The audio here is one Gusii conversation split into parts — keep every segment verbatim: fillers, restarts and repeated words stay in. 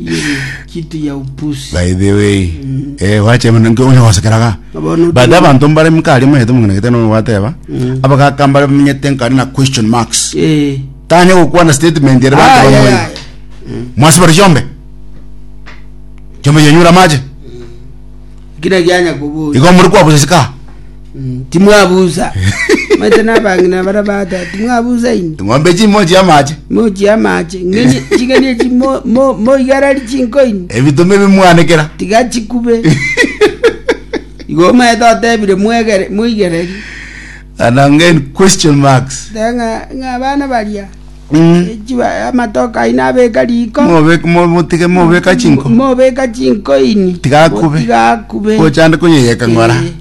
Hiyo ni kitu ya upuzi. By the way, eh wache mna nko onyo gosekeraga. Bono But abantu mbare mkari mwete mungana gete no wateba. Abagaka mbare menyete nkari na question marks. Eh. Tanya gokwana statement yere Ah, bantu yeah, bamwe. yeah. Mwasibara chombe. Chombe yenyura maje. Kila gyanya kubuza. Igo muri kwa busika. Mm, timwabuza. Maite nabangina bara bata timwabuza ini. Ng'ombe chimoji amache. Moji amache. Ngeni chigeni chi mo mo mo igarari chinkoini. Ebitume bimwanekera. Tiga chikube. Igo maete otebire mwegere mwigereri. Anangen question marks. Tenga ng'a abana baria. Mm. Chiba amatoka aina abeka riko. Mobeka motike mobeka chinko. Mobeka chinkoini. Tiga akube. Tiga akube. Kochande kunyeyeka ng'ora. Eh.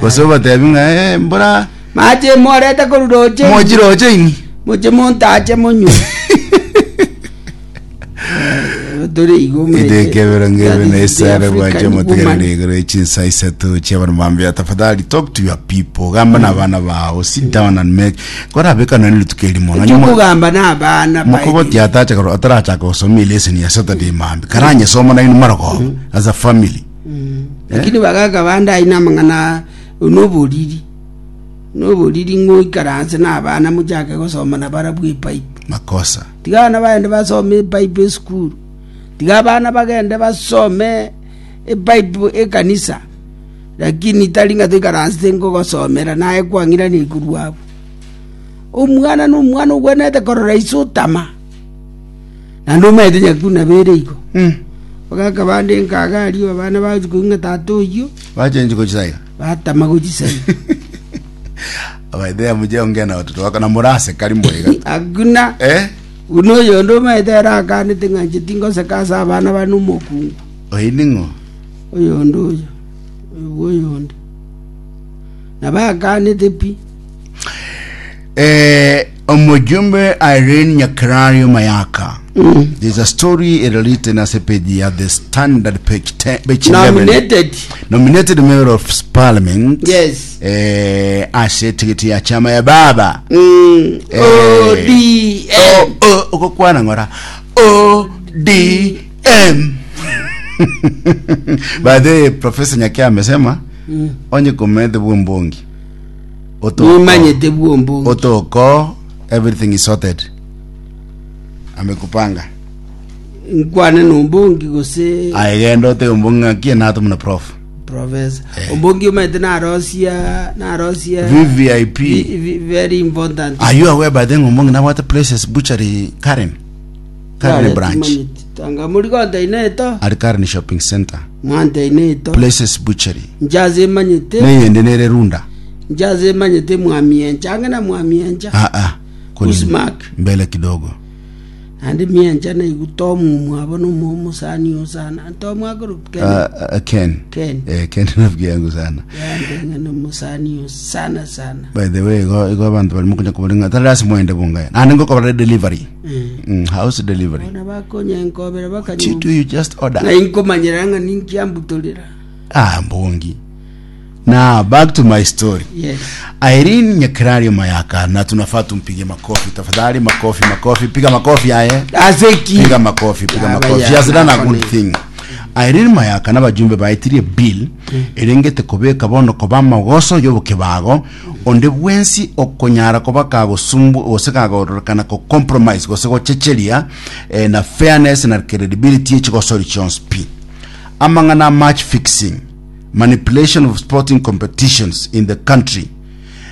Gose obatebi ng'a eh mbora Mache morete koruroche. mochiroche ini. Moche montache monywe. Eh, Tore igo mete. Idekebero ngebe na isare bwache motegerere motegerere igoro chinsa isato chiabana mambia tafadhali talk to your people gamba na abana bao sit down and make korabeka nani litukeli mono nyuma Chukugamba n'abana mukogoti atacha karo atarachaka gosoma lesson ya Saturday mambi karanye soma na inu maroko as a family. Lakini bagaka bande aina amang'ana noboriri noboriri ng'oikaranse na abana mochake gosoma na barabwo epipe. Makosa. Tiga abana bagende basome epipe esukuru, tiga abana bagende basome epipe ekanisa, lakini tari ng'a toikaransete nkogosomera naye kwang'irani korwa abwo. Omwana na omwana ogwenerete korora ise otama naende omanyete nyakuna bere igo. Mm. Bagaka bande nkaga aria abana bagochi koigwa ng'a tata oyio Wachenji kochisaika. batama gochisai. Abaidea muje ongea na watoto wako na murase kari mwega. Akuna. Eh? Buna oyonde omanyete ere akanete ng'a inche tingoseka ase abana bane omokungu. Oiningo. Oyonde oyo oyo bwa oyonde nabo akanete pi. Eh, omujumbe Irene Nyakerario Mayaka. Mm. There's a story written as a page at the Standard page ten, page eleven. Nominated. Nominated member of parliament. Yes. Eh, ase tikiti ya chama ya baba. Mm. Eh. O D M. O O ukokwana ngora. O D M. By the way, Professor Nyakia amesema Mm. onye komete bwombongi. Otoko. Nimanyete bwombongi. Otoko everything is sorted. Amekupanga. Nkwane nombongi gose Aigendo te ombonga kie nato mna prof. Professor ombongi omanyete narosia narosia V V I P. Vi- vi- very important. Are you aware by then ombongi na what places butchery Karen? Karen branch. Tanga muri konteina eto. At Karen Shopping Center. Mwanteina eto. Places Butchery. Njaze emanyete. Neyende nere runda. Njaze emanyete mwamiencha ange na mwamiencha. Ah ah. Kuni Usmark. mbele kidogo. Naende miencha naigu tomu mwabo nomo omusani osana tomu akoro Ken. Uh, uh, Ken. Ken. Eh, Ken rafiki yangu sana. Yande ng'ana omusani osana sana. By the way, go go abantu bali mukunya kubalinga. Tala mwende bunga. Na ngo kwa delivery. Mm. Mm, house delivery. Bona bakonya enkobera What you bakanywa. do you just order. Ng'ai nkomanyera ng'a ninkiambutorera. Ah, mbongi. Now back to my story. Yes. Irene Nyakerario Mayaka na tunafaa tumpige makofi tafadhali, makofi, makofi, piga makofi aye. Aseki. Piga makofi, piga Ya, makofi. ya, She has done a nakone. good thing. Irene Mayaka n'abajumbe baitirie bill erengete kobeka bono koba amagoso y'obokebago onde bwensi okonyara koba kagosumbu gose kagororekana ko compromise gose gochecheria eh, na fairness na credibility y'echigosori chionsi pi amang'ana match fixing, manipulation of sporting competitions in the country.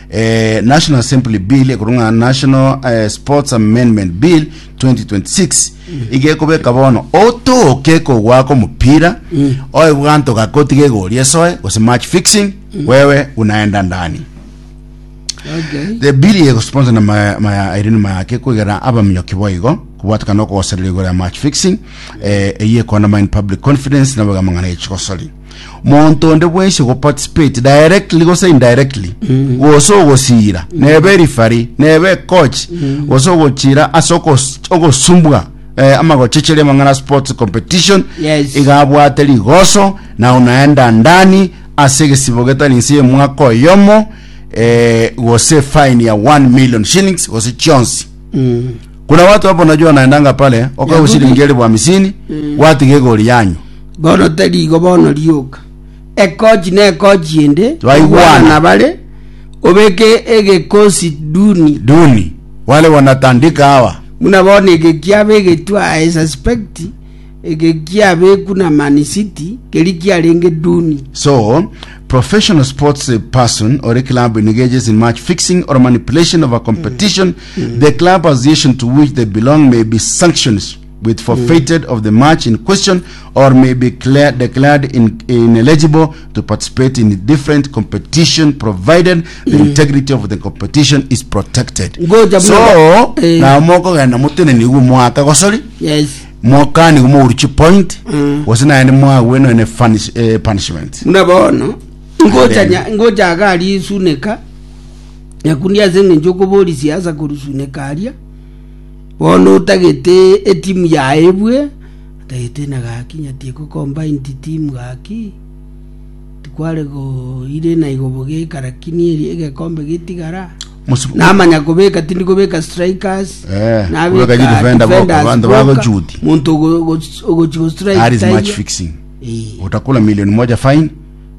eh, National Assembly bill ekorunga National eh, Sports Amendment Bill twenty twenty-six igekobeka bono otoke kogwaka omupira mm. oe bwanto gakoti gegoria esoe gose match fixing wewe unaenda ndani. Okay. The bill yegosponsor na ma, ma Irene Mayake kwigera abaminyoki boigo kubwatikana okogosereria igoro ya match fixing eh, eye ekondermine public confidence na bagamang'ana echigosori monto onde bwensi ogoparticipate directly gose indirectly gose ogosira nebe referee nebe coach gose ogochira ase ogos- ogosumbwa eh, amagochecheria amang'ana sports competition Yes. igabwate rigoso na unaenda ndani ase egesibo getari nse y'omwaka oyomo eh, gose fine ya one million shillings gose chionsi. Mm. Kuna watu hapo najua wanaendanga pale okawa Nyakundi. shilingi elfu hamsini Mm. watige goli yanyu Bono tari igo bono rioka. Ekochi na ekochi ende. Twaigwana. Na bare obeke egekosi duni. Duni wale wanatandika hawa. Muna bono ege kiabe egetwa I suspect ege kiabe kuna Man City keri kiarenge duni. So, professional sports eh, person or a club engages in match fixing or manipulation of a competition, the club association to which they belong may be sanctioned with forfeited of the match in question or may be clear, declared in, ineligible to participate in different competition provided the integrity of the competition is protected. Ngoja So, muna- eh. na moko genda mutene nigu mwaka gosori Yes. mwaka nigu muruchi point Mm. gose naende mwagwe ne funish, eh, punishment. Muna bono ngoja Amen. nya- ngoja agari suneka nyakundi ase eng'encho okobori siasa korusuneka aria bono otagete etimu yaebwe otagete na gaki nyatie combined team gaki tikware go ire na igobo geka lakini eri egekombe getigara Musu- namanya kobeka tindi kobeka strikers Eh, nabeka kubeka ji defender boka, defenders bantu boka, bago juti. muntu ogochi go strike That is taiyo. match fixing. Eh. Utakula milioni moja fine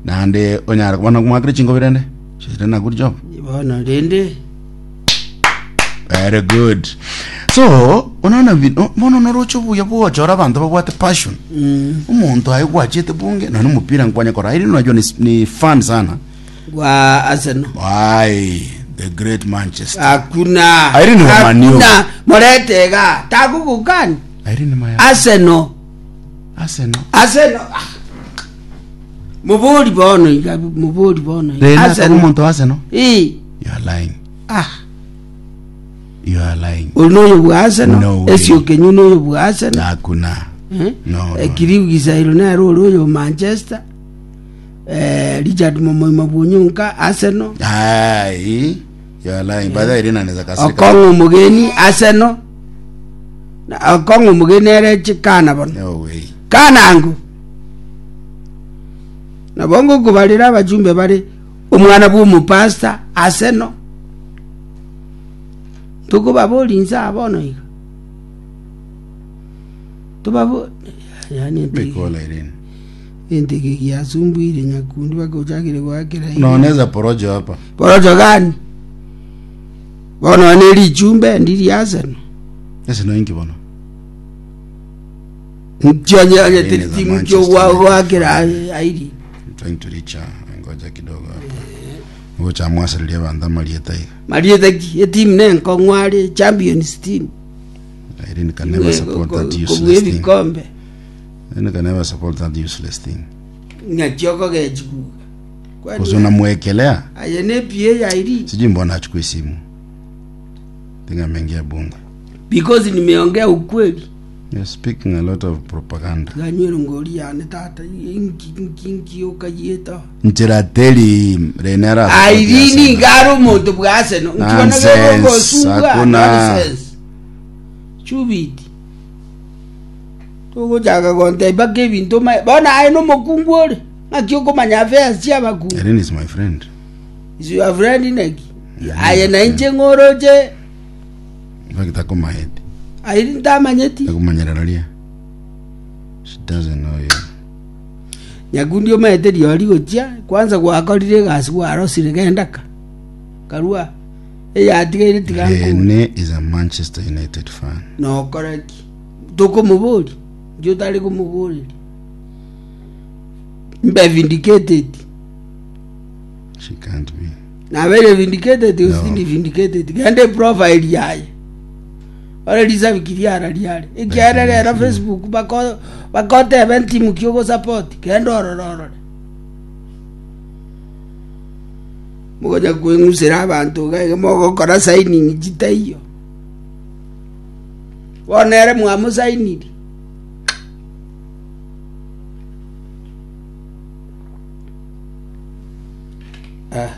naende onyara kubana kumwakire chingo birende. She's done a good job. Bono rende Very good. So, unaona vi- no- bono norocho buya bwochora abantu babwate passion. mm. Omuntu aye gwachete bunge na nomupira nkwanya kora. Iri unajua ni, ni fan sana. Wa Arsenal Why the great Manchester. hakuna Irene wa Man U. hakuna moretega takugukani Irene maya. Arsenal Arsenal. Arsenal ah. Muburi bono iga muburi bono iga. Rena Arsenal omuntu Arsenal. eh You are lying. ah You are lying. uno bwa Arsenal No way. esio kenyu no bwa Arsenal Hakuna. eh No, no. Ekiriu gisairo nero uri uyu Manchester eh Richard Momoima Bunyunka Arsenal Ai, you are lying. By the way, Irene anaweza kasirika. Okong'o mugeni Arsenal na Okong'o mugeni ere chikana bono No way. kanangu nabo ngokubarira abajumbe bari omwana bwa omupasta Arsenal tukubabori nsa bono iga tubabo yani Mikola Irene. enteke giasumbwire nyakundi bakochakire gwakira Unaoneza porojo hapa. porojo gani bono ne richumbe ndiri Arsenal Ese no ingi bono. nchonye Irene za timu Manchester kyo United. gwakira airi I'm trying to reach her. Ngoja kidogo hapa. Ngoja mwasililia banda malieta iga. mariete ki etimu nenkong'ware champions team Irene can never support that kobua useless thing. ebikombe Irene can never support that useless thing. ng'achio kogechikuga Kwa unamwekelea. aye ne P A ya Irene Sijui mbona achukui simu. Tinga ameingia bunge. because nimeongea ukweli You're speaking a lot of propaganda. ganywero ngori yane tata inki inki inki okayieta Nchirateli Renera. Irene ngaro omonto bwa Arsenal Nonsense, nkiona hakuna. chubiti togochaka gonteba kebinto ma bona aye nomokungu ore ng'aki okomanya affairs chia abakungu Irene is my friend. Is your friend naki aye nainche ng'oroche In fact, akomaheti. airi ntamanyeti Akumanyereraria. She doesn't know you. nyakundi omaete riori gochia kwanza gwakorire egasi gwarosire gendaka karua eyatigaire tiga nkure Rene is a Manchester United fan. nokoreki tokomobori njo otari komoboreria mbe vindicated She can't be. nabere vindicated No. usindi vindicated gende profile yaye ore risabikiri ara riare ekiara rero Facebook bako bakotebe ntimu kiogo support genda orororore mugoja kweng'usera abantu gaiga mogokora signing chitaiyo bono ere mwamusainiri Ah.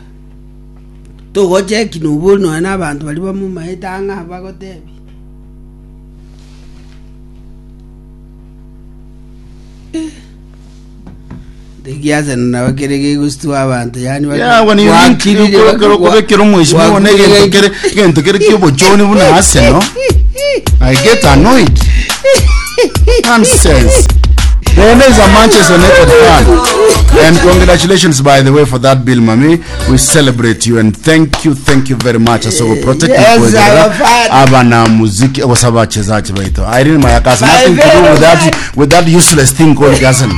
Togocheki nobori nonya na abanto bari bamomaete ang'a bagotebi Egento egiaseno nabo kere gegostua abanto yani Yeah, when you link okobekera omweshimiwa na egento kere egento kere kiobochoni buna Arsenal I get annoyed. Nonsense. Then is a Manchester United fan. And congratulations, by the way, for that bill, Mami. We celebrate you and thank you, thank you very much. So we protect Yes, I'm a fan. Aba muziki osaba wachezaji baito. Irene Mayaka has nothing to do with that with that useless thing called Arsenal.